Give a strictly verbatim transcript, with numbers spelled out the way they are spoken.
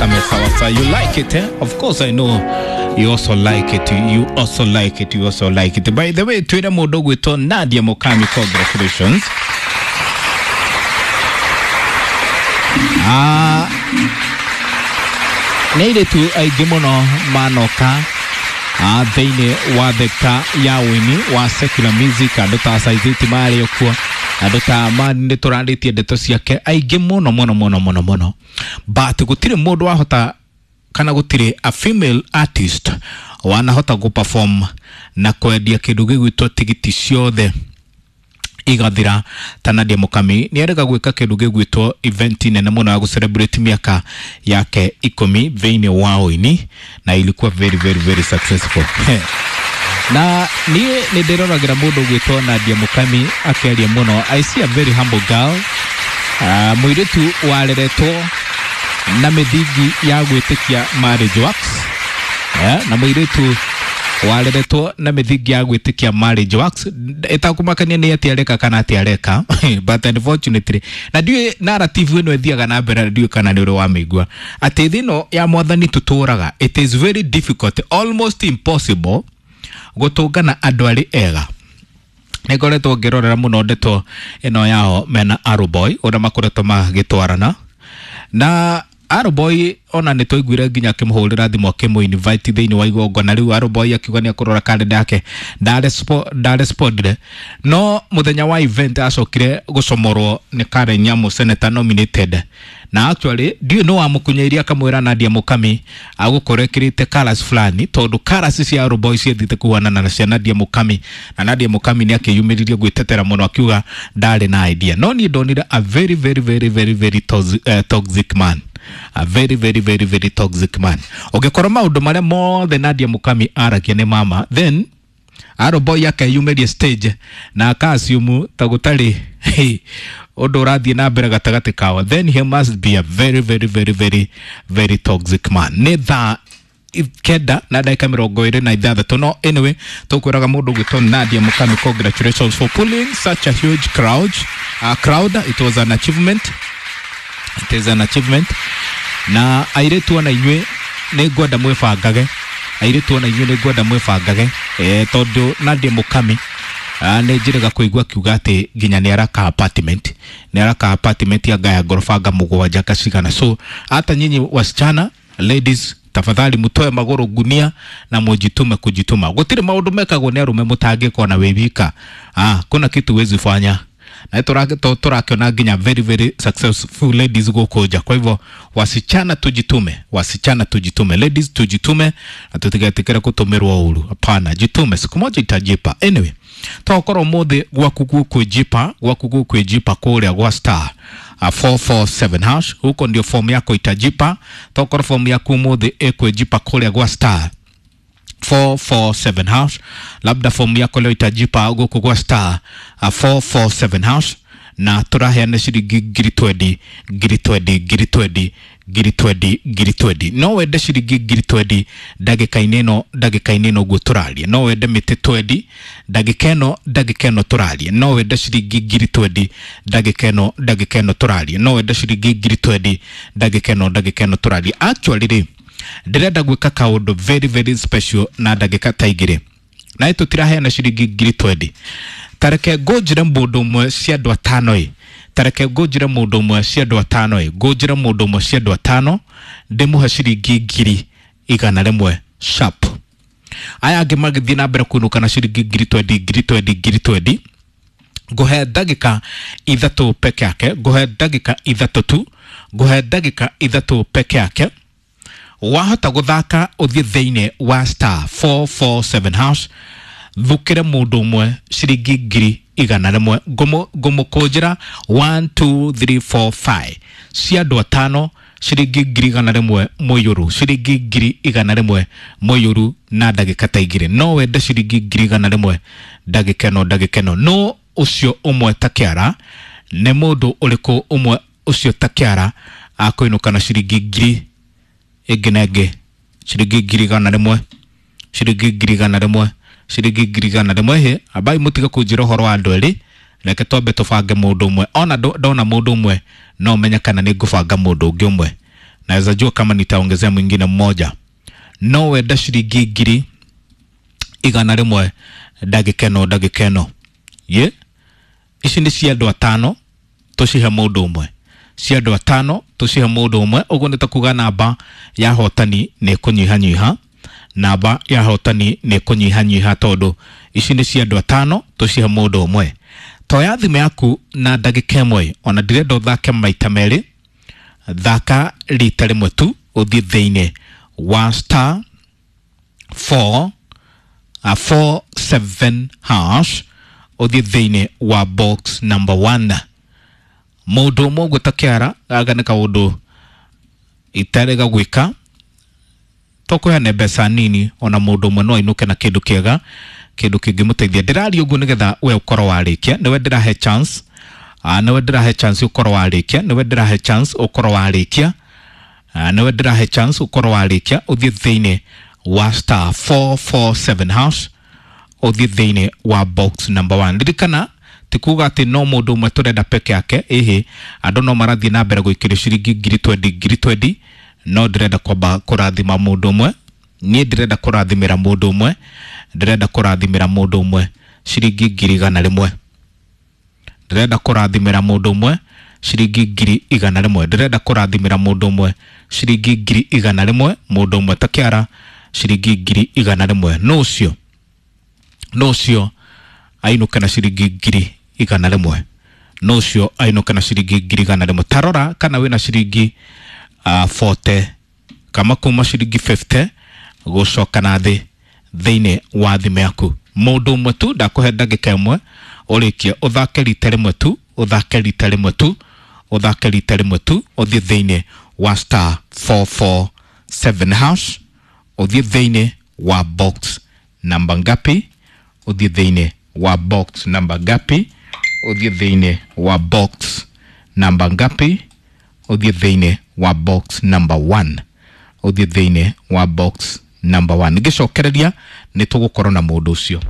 Thakame sawa sawa. You like it, eh? Of course I know you also like it. You also like it. You also like it. By the way, twira mundu gwitwo Nadia Mukami, congratulations. Ah, nä airĩtu aingĩ mũno manoka ah, thĩinĩ wa thekta ya ũini wa secular music, andũ ta Saiziti marĩ okuo, andũ ta Mani nĩ tũrarĩtie ndeto ciake aingĩ mũno mũno mũno mũno mũno, but gũtirĩ mũndũ wahota kana gũtirĩ a female artist wanahota gũ perform na kwendia kĩndũ gĩgwĩtwo tigiti ciothe igathira ta Nadia Mukami. Nĩ arega gwĩka kĩndũ gĩgwĩtwo event nene mũno ya gũ celebrate mĩaka yake ikũmi thĩinĩ wa ũini, na ilikuwa very very very successful. Na niĩ nĩ ndĩroragĩra mũndũ ũgwĩtwo Nadia Mukami akĩaria mũno. I see a very humble girl, uh, mũirĩtu wareretwo na mĩthingi ya gwĩtĩkia marriage works, yeah, na mũirĩtu wareretwo na mĩthingi ya gwĩtĩkia marriage works, ĩtakũmakania nĩ atĩ areka kana atĩ areka. But unfortunately, na ndiũĩ narrative ĩno ĩthiaga na mbere, na ndiũĩ kana nĩ ũrĩ wamĩigua atĩ thĩ ĩno ya mwathani tũtũraga, it is very difficult, almost impossible, gũtũngana andũ arĩ ega. Nĩ ngoretwo ngĩrorera mũno ndeto ĩno yao mena Arrowboy, ũrĩa makoretwo magĩtwarana na Arrowboy. Ona nĩ twaiguire nginya akĩmũhũrĩra thimũ akĩmũ invite thĩinĩ wa igongona rĩu. Arrowboy akiuga nĩ akũrora kalenda yake, ndarespondire, no mũthenya wa event acokire gũcomorwo nĩ Karen Nyamu, senator nominated. Na actually ndiũĩ nĩ wamũkunyĩirie akamwĩra Nadia Mukami agũkorwo ekĩrĩte colours fulani, tondũ colours cia Arrowboy ciathiĩte kuhanana na cia Nadia Mukami, na Nadia Mukami nĩ akĩyumĩririe gwĩtetera mũno akiuga ndarĩ na idea. No niĩ ndonire a very very very very very toxic, uh, toxic man, a very very very very toxic man. Ũngĩkorwo maũndũ marĩa mothe Nadia Mukami aragia nĩ mama, then Arrowboy akeyumĩria stage na akasiumu ta gũtarĩ ũndũ ũrathiĩ na mbere gatagatĩ kao, then he must be a very very very very very toxic man. Nĩ thaa kenda na ndagĩka mĩrongo ĩrĩ na ithathatũ. No anyway, tũkwĩraga mũndũ ũgwĩtwo Nadia Mukami, congratulations for pulling such a huge crowd, uh, crowd. It was an achievement, it is an achievement. Na airĩtu ona inyuĩ nĩ ngwenda mwĩbangage, airĩtu ona inyuĩ nĩ ngwenda mwĩbangage, eh, tondũ Nadia Mukami ah, nĩ njĩrĩga kũigua akiuga atĩ nginya nĩ araka apartment, nĩ araka apartment anga ya ngoroba nga mũgwanja kacigana. So hata nyinyi wasichana, ladies, tafadhali mutoe magũrũ ngunia na mujitume kujituma. Gũtirĩ maũndũ mekagwo nĩ arũme mũtangĩkwo na wĩ wika. Ah, kuna kitu huwezi fanya na tũrakĩona nginya very very successful ladies gũkũ nja. Kwa hivyo wasichana tujitume, wasichana tujitume, ladies tujitume na tutigetĩkĩre kũtũmĩrwo ũru. Hapana, jitume, siku moja itajipa. Anyway, tokorwo mũthĩ gwaku gũkwĩjipa, gwaku gũkwĩjipa kũrĩa gwa star uh, four four seven hash, huko ndio fomu yako itajipa. Tokorwo fomu yaku mũthĩ ĩkwĩjipa kũrĩa gwa star four four seven hash, labda fomu yako leo itajipa gũkũ gwa star uh, four four seven hash, na tũraheana ciringi ngiri twendi, ngiri twendi, ngiri twendi, ngiri twendi, ngiri twendi. No wende ciringi ngiri twendi ndagĩka-inĩ ĩno, ndagĩka-inĩ ĩno ũguo tũraria. No wende mĩtĩ twendi ndagĩka ĩno, ndagĩka ĩno tũraria. No wende ciringi ngiri twendi ndagĩka ĩno, ndagĩka ĩno tũraria. No wende ciringi ngiri twendi ndagĩka ĩno, ndagĩka ĩno tũraria. Actually rĩ, ndĩrenda gwĩka kaũndũ very very special na ndagĩka ta igĩrĩ, na tũtiraheana ciringi ngiri twendi. Tareke ngũnjĩre mũndũ ũmwe cia andũ atano ĩ, tareke ngũnjĩre mũndũ ũmwe cia andũ atano ĩ, ngũnjĩre mũndũ ũmwe cia andũ atano ndĩmũhe ciringi ngiri igana rĩmwe sharp. Aya angĩ magĩthiĩ na mbere kũinũka na ciringi ngiri twendi, ngiri twendi, ngiri twendi. Ngũhe ndagĩka ithatũ peke yake, ngũhe ndagĩka ithatũ tu, ngũhe ndagĩka ithatũ peke yake. Wahota gũthaka ũthiĩ thĩinĩ wa star four four seven hash, thukĩre mũndũ ũmwe ciringi ngiri igana rĩmwe. Ngũmũkũnjĩra one two three four five cia andũ atano, ciringi ngiri igana rĩmwe mũiyũru, ciringi ngiri igana rĩmwe mũiyũru na ndagĩka ta igĩrĩ. No wende ciringi ngiri igana rĩmwe ndagĩka ĩno, ndagĩka ĩno? No ũcio ũmwe ta kĩara nĩ mũndũ ũrĩkũ ũmwe ũcio ta kĩara akũinũka na ciringi ngiri ĩngĩ na ĩngĩ, ciringi ngiri igana rĩmwe, ciringi ngiri igana rĩmwe, ciringi ngiri igana rĩmwe? Hĩ, ambai mũtige kũnjĩra ũhoro wa andũ erĩ, reke twambe tũbange mũndũ ũmwe. Ona ndona mũndũ ũmwe no menye kana nĩ ngũbanga mũndũ ũngĩ ũmwe. Naweza jua kama nitaongezea mwingine mmoja. No wenda ciringi ngiri igana rĩmwe ndagĩka ĩno ndagĩka ĩno. Ye ici nĩ cia andũ atano tũcihe mũndũ ũmwe, cia andũ atano tũcihe mũndũ ũmwe. Ũguo nĩ ta kuga namba ya hotani nĩ kũnyihanyiha, namba ya hotani nĩ kũnyihanyiha tondũ ici nĩ cia andũ atano tũcihe mũndũ ũmwe. Toya thimũ yaku na ndagĩka ĩmwe, ona ndirenda ũthake maita merĩ, thaka rita rĩmwe tu, ũthiĩ thĩinĩ wa star four uh, four seven hash, ũthiĩ thĩinĩ wa box number one. Mũndũ ũmwe ũguo ta kĩara gaka nĩ kaũndũ itarega gwĩka, tũkũheane mbeca nini ona mũndũ ũmwe no ainũke na kĩndũ kĩega, kĩndũ kĩngĩmũteithia. Ndĩraria ũguo nĩgetha we ũkorwo warĩkia, nĩwe ndĩrahe chance, ah, nĩwe ndĩrahe chance ũkorwo warĩkia, nĩwe ndĩrahe chance ũkorwo warĩkia, ah, nĩwe ndĩrahe chance ũkorwo warĩkia, ũthiĩ thĩinĩ wa star four four seven hash, ũthiĩ thĩinĩ wa box number one. Ririkana ti kuga atĩ no mũndũ ũmwe tũrenda peke yake, ĩhĩ andũ no marathiĩ na mbere gũikĩrio ciringi ngiri twendi ngiri twendi, no ndĩrenda kwamba kũrathima mũndũ ũmwe. Niĩ ndĩrenda kũrathimĩra mũndũ ũmwe, ndĩrenda kũrathimĩra mũndũ ũmwe ciringi ngiri igana rĩmwe, ndĩrenda kũrathimĩra mũndũ ũmwe ciringi ngiri igana rĩmwe, ndĩrenda kũrathimĩra mũndũ ũmwe ciringi ngiri igana rĩmwe, mũndũ ũmwe ta kĩara ciringi ngiri igana rĩmwe. Nũ ũcio? Nũ ũcio ainũke na ciringi ngiri igana rĩmwe? Nũ ũcio ainũke na ciringi ngiri igana rĩmwe? Tarora kana wĩna ciringi uh, forty kama kuma ciringi fifty gũcoka na thĩ thĩinĩ wa thimũ yaku. Mũndũ ũmwe tu, ndakũhe ndagĩka ĩmwe ũrĩkie, ũthake rita rĩmwe tu, ũthake rita rĩmwe tu, ũthake rita rĩmwe tu, ũthiĩ thĩinĩ wa star four four seven hash, ũthiĩ thĩinĩ wa box namba ngapi, ũthiĩ thĩinĩ wa box namba ngapi, ũthiĩ thĩinĩ wa box namba ngapi, ũthiĩ thĩinĩ wa box number one, ũthiĩ thĩinĩ wa box number one. Ngĩcokereria nĩ tũgũkorwo na mũndũ ũcio.